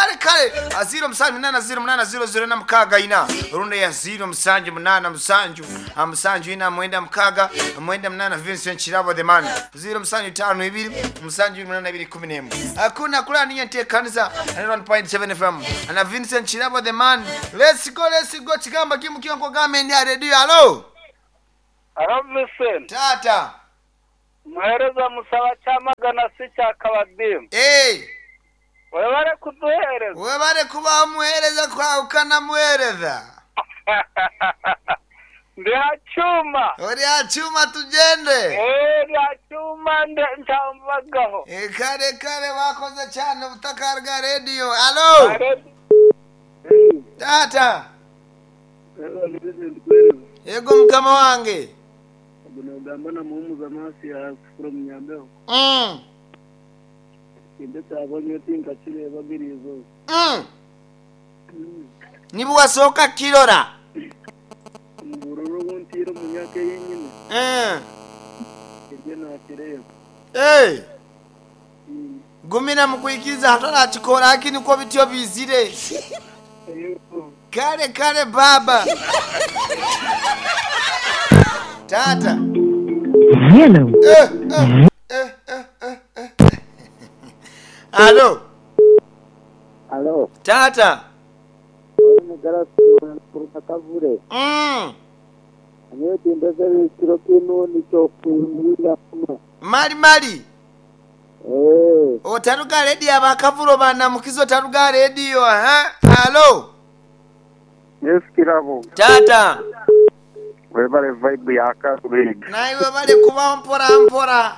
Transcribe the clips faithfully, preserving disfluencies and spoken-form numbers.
Kale kale ziro musanju munana ziro munana ziro ziro na mukaaga ina rundi ya ziro musanju munana musanju ah, musanju ina mwenda mukaaga mwenda munana Vincent Kirabo the man ziro musanju tano ibiri musanju munana ibiri kumi n'emwe hakuna kulala niyo nteekaniza one point seven F M na Vincent Kirabo the man. Let's go, let's go. Kigamba kimu kiongo game ndi radio. Hello. Hello Vincent. Tata. Muhereza musaba cyamagana si cyakabadimu. Eh. Webare kuduhereza. Webare kuba muhereza kwa ukana muhereza. Ndi hachuma. Uri hachuma tugende. Eh, ndi hachuma ndambagaho. Eh, kare kare wakoze cyane ubutaka bwa radio. Hello. Tata. Yego mukama wange. Ugamba na muhumuza masi ya from Nyambeho. Mm. Ndetse abonye tinka kireba birizo. Mm. Nibu wasoka kirora. Mbururu wuntiro munyake yenyine. Eh. Ibyo nakireba. Eh. Gumina mukwikiza hatara chikora lakini uko bityo bizire. Kare kare baba. Tata. Hello. Eh, eh, eh, eh, eh, eh. Hello. Hello. Tata. Kavure. Mm. Anyewe tindeze bikiro kino nicho kumbira kuma. Mali mali. Eh. Otaruga radio abakavuro bana mukizo taruga radio ha. Hello. Yes Kirabo. Tata. Webale vibe ya Karueg. Naiwe bale kuba mpora mpora.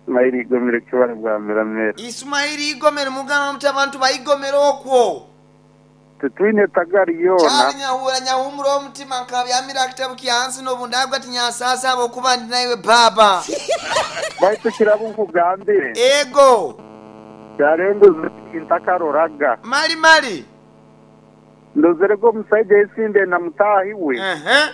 Ismaili Igomero kibale bwa miramera. Ismaili Igomero mugamba muti abantu bayigomero okwo. Tutwine tagari yona. Kyali nyahura nyahumura omutima nkabyamira kitabu kyansi n'obundagwa ati nyasasa abo kuba ndi naiwe baba. Baitu Kirabo nkugambire. Ego. Kyarenguza intakaroraga. Mali mali. Ndozere go musaija yesinde na mutahi we. Uh-huh.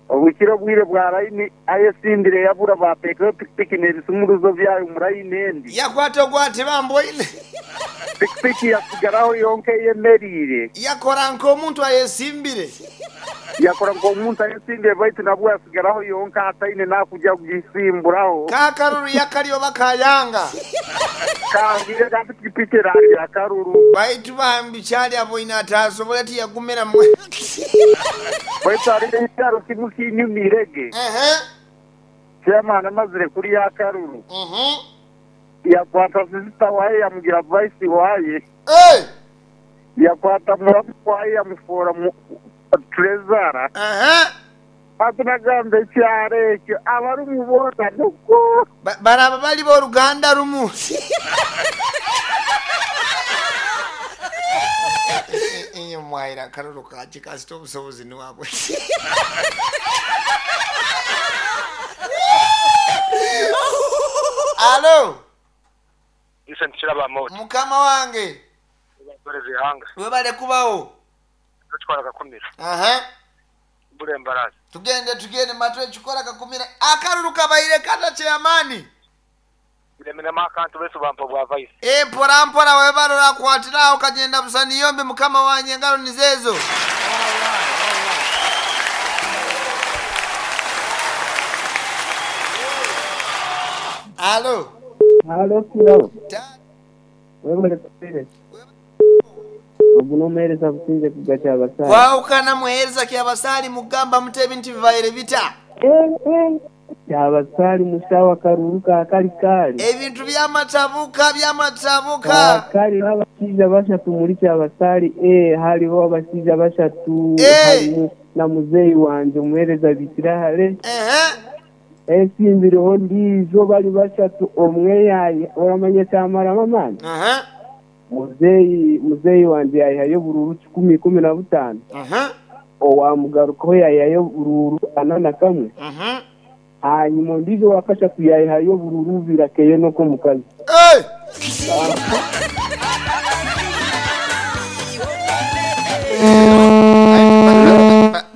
Obukiro bwire bwa line ayesindire yabura batekeho pikipiki n'ebisumuruzo byayo mu line endi. Yakwata ogwate bamboine. Pikipiki yasigaraho yonke yemerire. Yakora nk'omuntu ayesimbire. Yakora nk'omuntu ayesimbire baitu nabwo yasigaraho yonke ataine nakuja kugisimburaho. Kakaruru yakaliyo bakayanga. Kangire ka pikipiki erari akaruru. Baitu bambi kyali aboine atasobola tiyagumira mwe. Baitu hariho ekyaro kimwe kinyumirege. Uh-huh. Chairman amazire kuri yakaruru. Uh-huh. Yakwata sister waye yamugira vice waye. Hey! Yakwata muramu waye yamufora mu treasurer. Uh-huh. Atunagamba ekyaro ekyo abarumubona nuko. Ba baraba bali b'oruganda rumu. Inye mwaira akaruru kaki kasita obusobozi niwabwe. Alo. Vincent Kirabo Amoti. Mukama wange. Hanga. Webale kubawo. Tukora kakumira. Aha. Bure mbarazi. Tugende tugende matwe chukora kakumira. Akaruru kabaire kata chairman. Bilemena makantu besu bampa bwa vice. Eh mpora mpora webarora kwatira ukagenda busani yombe mukama wanye ngalo nizezo. Alo. Halo Kirabo. Webale kupere. Oguno muhereza businze kugacha abasali. Kwaukana muhereza kyabasali mugamba mutebi nti bibaire bita. Eh eh. Kyabasali musawa karuruka akali kali. Ebintu byamatabuka byamatabuka. Kali abashiija bashatu muri kyabasali eh haliho abashiija bashatu eh. Na muzeyi wanje muhereza bitirahale. Eh eh. Esimbiriho ndijo bali bashatu omwe yaye oramanye kyamara mamani. Uh-huh. Muzeyi muzeyi wanje yayihayo bururu kikumi kumi na butano. Uh-huh. Owamugarukaho yayihayo bururu ana na kamwe. Uh-huh. Hanyuma ndijo wakashatu yayihayo bururu birakeye noko mukazi. Hey!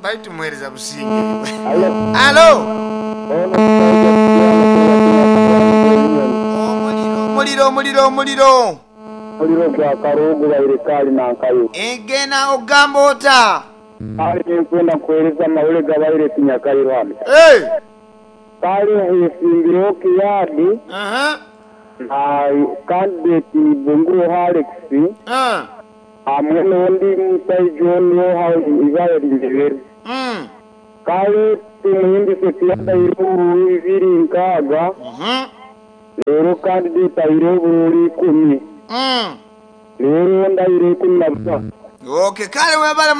Baitu muhereza businge. Alo. Omuliro omuliro omuliro omuliro. Muliro gwa Karugu baire kali nankayo. Egena ogamba ota. Kali nkwenda nkuhereza amawule gabaire tinyakairo hano. Hey. Kali hesimbireho Kiyadi Aha. na candidate Bunguro Alex Ah. hamwe n'ondi musaija onu ibara rinjebere. Mm. Kale tumuhimbise Kiyadi aire obururu bibiri nkaaga Mhm. rero candidate aire obururu ikumi Mm. rero ondi aire ikumi na busatu. Okay, kale webale.